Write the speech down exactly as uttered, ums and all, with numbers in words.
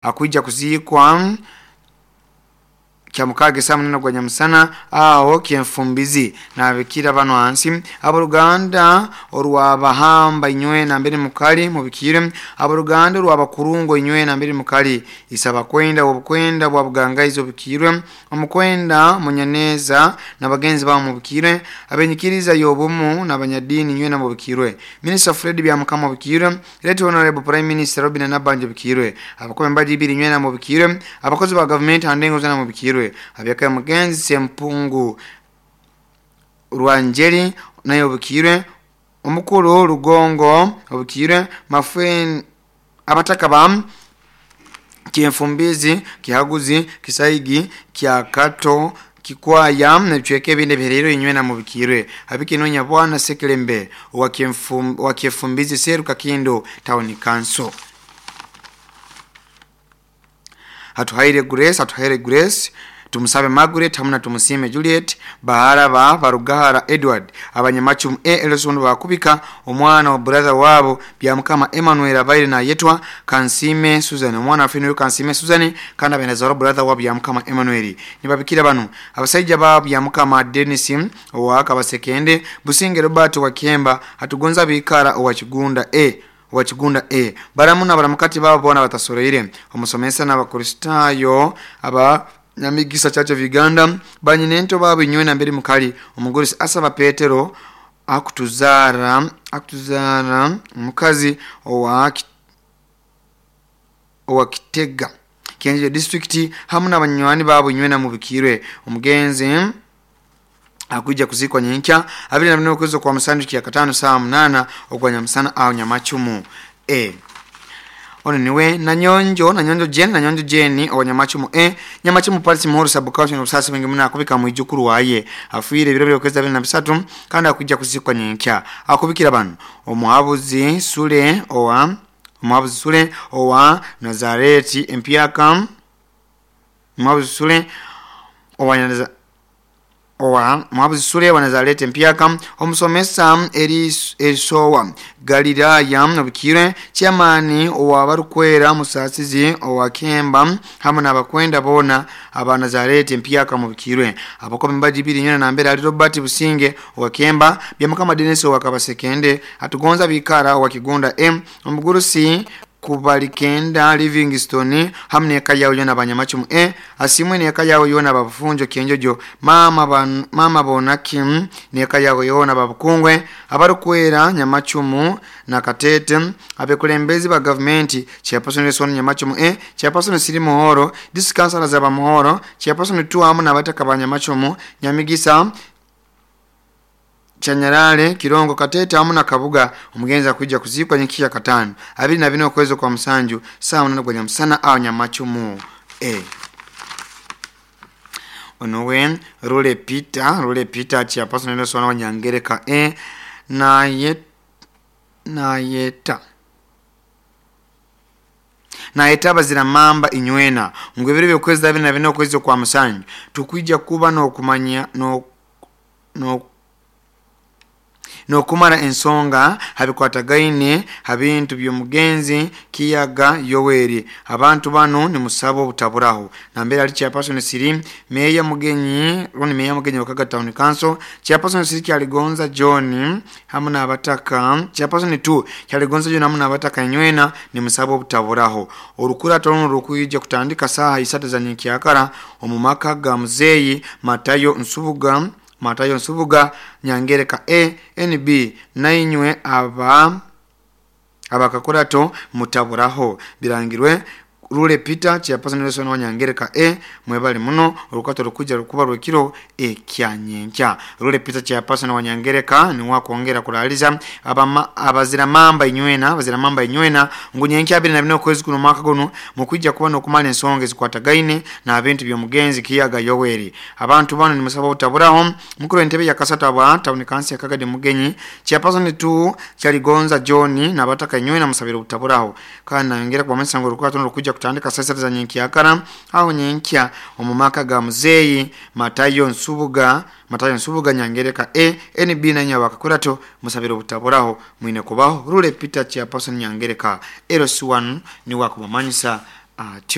Akwija kuziikwa Kyamukaga saa munana gwa nyamusana aho Kyenfumbizi. Nabikira bano hansi: aboluganda orwabahamba inywe nambere mukali mubikire, aboluganda orwabakurungo inywe nambere mukali, isaba kwenda obukwenda bwa bugangaizi obukirwe, omukwenda Munyaneza na bagenzi babo mubikirwe, abenyikiriza y'obumu n'abanyadini inywe mubikirwe, Minister Fred Byamukama mubikirwe, Right Honorable Prime Minister Robin Nabanja bikirwe, abakobe mbaji ibiri inywe mubikirwe, abakozi ba gavumenti handengo zana mubikirwe, abyaka mugenzi Sempungu Rwanjeri naye obukirwe, omukulu Rugongo obukirwe, Mafwen abataka ba Kyenfumbizi, Kihaguzi, Kisaigi, Kyakato, Kikwaya nebicweka ebindi ebihererire inywe mubikirwe. Abikinonya bwana Sekelembe wa Kyefumbizi Seru Kakindo Town Council. Hatuhaire Grace, Hatuhaire Grace, tumusabe Margaret hamuna tumusime Juliet, bahara ba Barugahara Edward, abanyamachumu e Elson bakubika omwana wa brother wabo Byamukama Emmanuel abaire na yetwa Kansime Susan, omwana afinu Kansime Susan kandi abenazaro brother wa Byamukama Emmanuel. Nibabikira bano abasajja ba Byamukama Dennis owa Kabasekende, Businge Robert wa Kemba, Hatugonza Bikara owa Kigunda e wa Kigunda e baramu na baramukati babo bona batasoreire, omusomesa n'abakristayo aba Nyamigisa Church of Uganda, banyinento babo inywe na mbere mukali, omugorisi asaba Petero akutuzara akutuzara mukazi owa owa Kitega Kienje district hamu n'abanywani babo inywe na mubikirwe. Omugenzi akuja kuzikwa nyenkya abiri na bine okwezi kwa musanju kya katano saa munana ogwa nyamusana aho Nyamachumu e. Ono niwe Nanyonjo, Nanyonjo Jane, Nanyonjo Jane owa Nyamachumu e Nyamachumu Parisi Muhoro sub county n'obusasi bwingi muno akubika mwijukuru waye afiire ebiro by'okwezi abiri na bisatu kandi akuja kuzikwa nyenkya. Akubikira bano omuhabuzi Sule owa omuhabuzi Sule owa Nazareti Empyaka, omuhabuzi Sule owa Nazareti owa muhabuzi Sule wa Nazareti Empyaka, omusomesa Erisowa Galilaya obukire, chairman owa Barukwera Musasizi owa Kemba hamwe n'abakwenda bona aba Nazareti Empyaka mubikirwe, abakobe mbaji ibiri nyona nambere ali Robert Businge owa Kemba, Byamukama Dennis owa Kabasekende, Atugonza Bikara owa Kigunda M, omugurusi Kubalikenda Livingstone hamwe neka yawo yona abanyamachumu e asimwe neka yawo yona babufunjo Kienjojo, mama ban, mama Bonaki neka yawo yona babukungwe abarukwera Nyamachumu na Katete, abekulembezi ba government chairperson Nelson Nyamachumu e chairperson Siri Muhoro, district councilors za Muhoro, chairperson tu hamu na bataka ba Nyamachumu Nyamigisa Chanyarale Kirongo Katete hamu na Kabuga. Omugenzi akuja kuzikwa nyikiya katano abiri na bine okwezi kwa musanju saa munana gwa nyamusana aho Nyamachumu e. Onowe Rule Peter, Rule Peter chairperson Nelson wa Nyangereka e na yet na yeta na etaba zira mamba inywena ngwebere byokwezi abiri na bine okwezi kwa musanju tukwija kuba no kumanya no no nokumara ensonga habikwatagaine habintu by'omugenzi Kiyaga Yoweri. Abantu bano ni musabo obutaburaho. Nambere ali chairperson Siri Meya Mugenyi, roni Meya Mugenyi wakaga Town Council, chairperson Siri Kyaligonza John hamwe n'abataka, chairperson two Kyaligonza John hamwe n'abataka inywena ni musabo obutaburaho. Orukurato runo rukwija kutandika saha isatu za nyenkyakara omu maka ga Muzeyi Matayo Nsubuga Matayo Nsubuga Nyangereka A N B nainywe aba abakakurato mutaburaho. Birangirwe Rule Peter chairperson Nelson wa Nyangereka A mwebali muno orukato rukuja rukuba rwekiro ekyanyenkya. Rule Peter chairperson wa Nyangereka ni wakwongera kuraliza abama abazira mamba inywena abazira mamba inywena ngu nyenkya abiri na bine okwezi kuno mwaka guno mukwijja kuba nokumala ensonga ezikwatagaine n'abintu by'omugenzi Kiyaga Yoweri. Abantu bano ni musaba obutaburaho. Mukuru entebe ya kasata ba town council Kagadi Mugenyi chairperson two Kyaligonza John n'abataka inywena musabira obutaburaho. Kandi nayongera kubamanyisa ngu orukato rukuja kutandika saa sita za nyenkyakara aho nyenkya omu maka ga Muzeyi Matayo Nsubuga Matayo Nsubuga Nyangereka A N B na nyabakakurato musabira obutaburaho mwine kubaho. Rule Peter chairperson Nyangereka L C one ni wakubamanyisa Atyo.